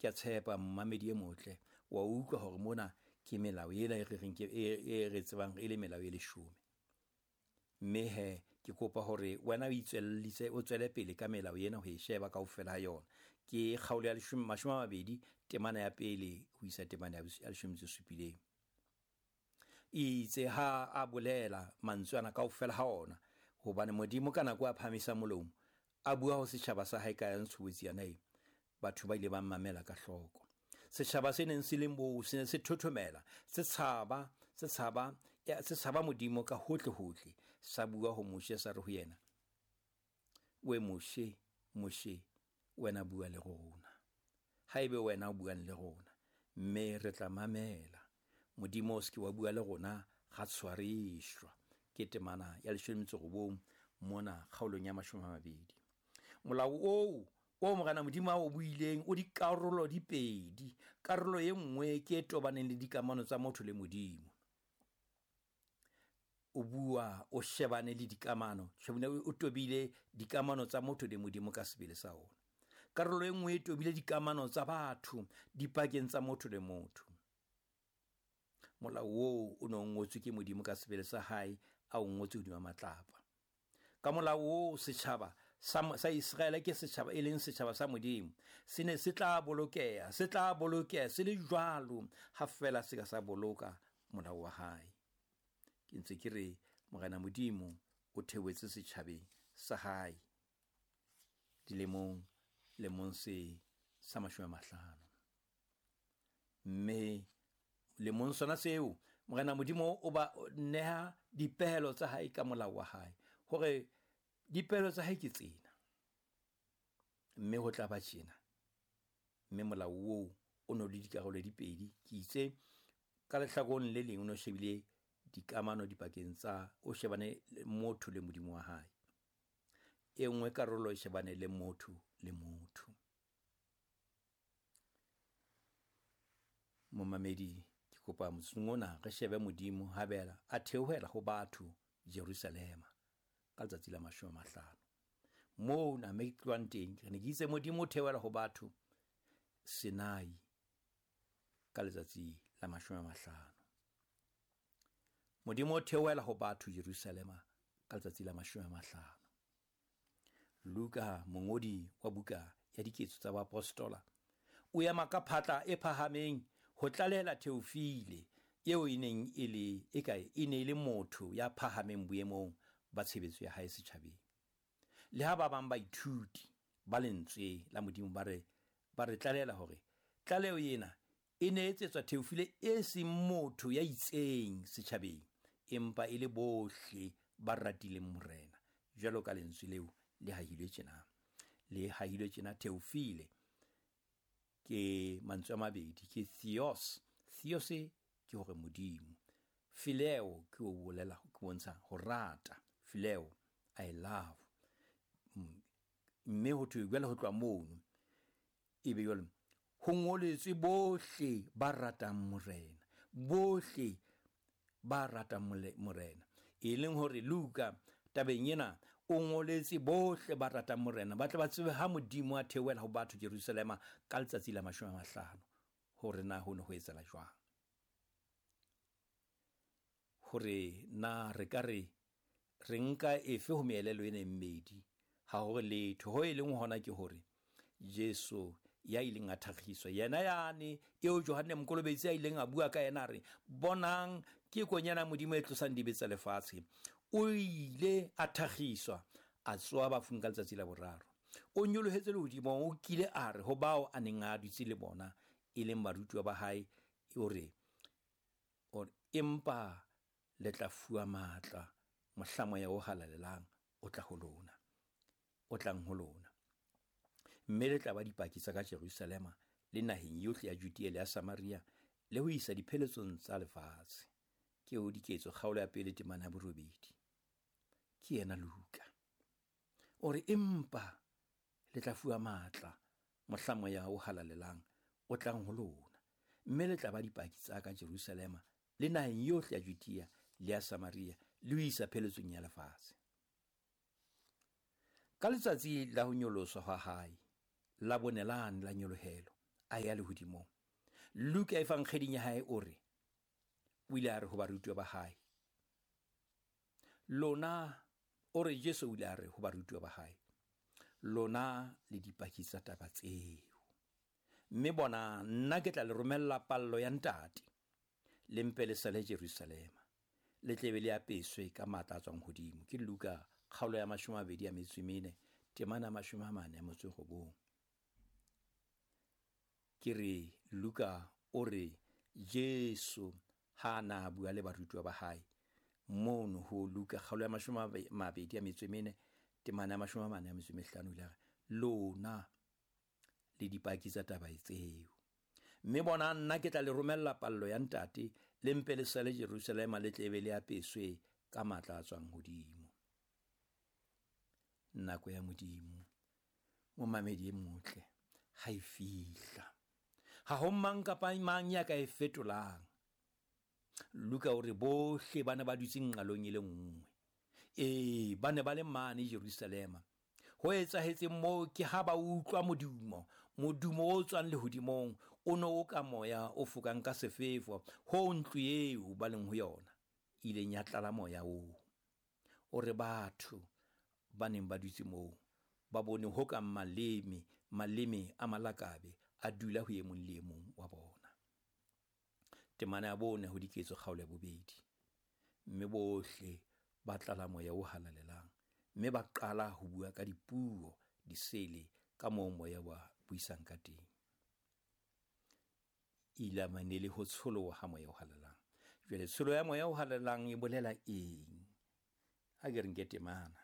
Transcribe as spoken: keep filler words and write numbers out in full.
Ke a tshepa mmamedi e motle wa utlwa hore mona ke melao ena e re reng ke e re tsebang e le melao e leshome. Mme he ke kopa hore wena o itswellise o tswele pele ka melao ena ho e sheba kaofela ha yona. Ke kgaolo ya leshome mashome a mabedi temana ya pele ho isa temana ya leshome tse supileng. Itse ha a bolela mantswe ana kaofela ha ona, hobane Modimo ka nako a phahamisa molomo a bua ho setjhaba sa hae ka ya ntshobotsi yana e, batho ba ile ba mmamela ka hloko. Setjhaba se neng se le moo se ne se thothomela, se tshaba, se tshaba, se tshaba Modimo ka hohle hohle. Sa bua ho Moshe sa re ho yena, we Moshe, Moshe, wena bua le rona. Haebe wena o buang le rona, mme re tla mamela. Modimo o se ke wa bua le rona, ra tshwarishwa. Ke temana ya leshome metso robong mona kgaolong ya mashome a mabedi. Molao oo o Morena Modimo a o buileng o dikarolo di pedi. Karolo e nngwe ke e tobaneng le dikamano tsa motho le Modimo. O bua o shebane le dikamano, o tobile dikamano tsa motho le Modimo ka sebele sa ona. Karolo e nngwe e tobile dikamano tsa batho dipakeng tsa motho le motho. Molao oo o no ngotswe ke Modimo ka sebele sa hae, a o ngotswe hodima matlapa. Ka molao oo setjhaba sa sa Iseraele ke setjhaba e leng setjhaba sa Modimo, se ne se tla bolokeha, se tla bolokeha se le jwalo ha fela se ka sa boloka molao wa hae. Ke ntse ke re Morena Modimo o theohetse setjhabeng sa hae dilemong lemong se sa mashome a mahlano. Mme lemong sona seo Morena Modimo o ba neha dipehelo tsa hae ka molao wa hae, hore dipehelo tsa hae ke tsena, mme ho tla ba tjena. Mme molao oo o no le dikarolo di pedi. Ke itse ka lehlakoreng le leng o no shebile dikamano dipakeng tsa o shebane motho le Modimo wa hae, e nngwe karolo e shebane le motho le motho. Momamedi, ke kopa motsotsong ona re shebe Modimo habela a theohela ho batho Jerusalema ka letsatsi la mashome a mahlano. Moo na me tloang teng, re ne ke itse Modimo o theohela ho batho Sinai ka letsatsi la mashome a mahlano. Modimo o theohela ho batho Jerusalema ka letsatsi la mashome a mahlano. Luka, mongodi wa buka ya Diketso tsa Baapostola, o ema ka phatla e phahameng ho tlalehela Theofile eo e neng e le e kae e ne e le motho ya phahameng boemong ba tshebetso ya hae setjhabeng. Le ha ba bang baithuti ba lentswe la Modimo ba re ba re tlalehela hore tlaleho ena e ne etsetswa Theofile e seng motho ya itseng setjhabeng, empa e le bohle ba ratileng Morena, jwalo ka lentswe leo le hahilwe tjena. Le hahilwe tjena Theofile ke mantswe a mabedi, ke theos. Theos ke hore Modimo. Phileo ke o bolela, ke bontsha ho rata. Phileo, I love. Mme ho thwe jwale ho tloha mono, ebe jwale ho ngoletswe bohle ba ratang Morena, bohle ba ratang Morena. E leng hore Luka tabeng ena o ngoletse bohle ba ratang Morena, ba tle ba tsebe ha Modimo a theohela ho batho Jerusalema ka letsatsi la mashome a mahlano, hore na ho ne ho etsahala jwang. Hore na re ka re re nka efe ho meelelo ena e mmedi, ha hore letho ho e leng hona ke hore Jesu ya ileng a thakgiswa, yena yane eo Johanne Mokolobetsi a ileng a bua ka yena a re, bonang ke konyana Modimo e tlosang dibe tsa lefatshe, o ile a thakgiswa a tsoha bafung ka letsatsi la boraro. O nyolohetse lehodimong, o kile a re ho bao a neng a dutse le bona e leng barutuwa ba hae, o re, o re empa le tla fuwa matla mohla Moya o Halalelang o tla ho lona, o tlang ho lona, mme le tla ba dipaki tsa ka Jerusalema le naheng yohle ya Judea le ya Samaria le ho isa dipheletsong tsa lefatshe. Ke o Diketso kgaolo ya pele temana ya borobedi. Ke yena Luka. O re empa le tla fuwa matla mohla Moya o Halalelang o tlang ho lona, mme le tla ba dipaki tsa ka Jerusalema le naheng yohle ya Judea le ya Samaria le ho isa pheletsong ya lefatshe. Ka letsatsi la ho nyoloswa ha hae, la bonelane la nyolohelo, a ya lehodimong, Luka evangeling ya hae o re o ile a re ho barutuwa ba hae, lona, o re Jesu o ile a re ho barutuwa ba hae, lona le dipaki tsa taba tseo. Mme bona, nna ke tla le romella pallo ya Ntate, le mpe le sale Jerusalema, le tle be le apeswe ka matla a tswang hodimo. Ke Luka kgaolo ya mashome a mabedi a metso e mene, temana ya mashome a mane a metso e robong. Ke re Luka o re Jesu ha na bua le barutuwa ba hae mono ho Luka kgaolo ya mashome a mabedi a metso e mene, temana ya mashome a mane a metso e mehlano, o ile a re lona le dipaki tsa taba tseo. Mme bona, nna ke tla le romella pallo ya Ntate, le mpe le sale Jerusalema, le tle be le apeswe ka matla a tswang hodimo. Nako ya Modimo, momamedi e motle, ha e fihla, ha ho mang kapa mang ya ka e fetolang. Luka o re bohle ba ne ba dutse nqalong e le nngwe. Ee, ba ne ba le mane Jerusalema. Ho etsahetseng moo ke ha ba utlwa modumo, modumo o tswang lehodimong, o no o ka moya o fokang ka sefefo, ho ntlo eo ba leng ho yona ileng ya tlala moya oo. O re batho ba neng ba dutse moo ba bone ho kang maleme, maleme a malakabe a dula ho e mong le e mong wa bona. Temana ya bone ho Diketso kgaolo ya bobedi. Mme bohle ba tlala moya o halalelang, mme ba qala ho bua ka dipuo disele ka moo moya wa buisang ka teng. Ile mane le ho tsholoha ha moya o halalelang. Jwale tsholo ya moya o halalelang e bolela eng? Ha ke re nke temana.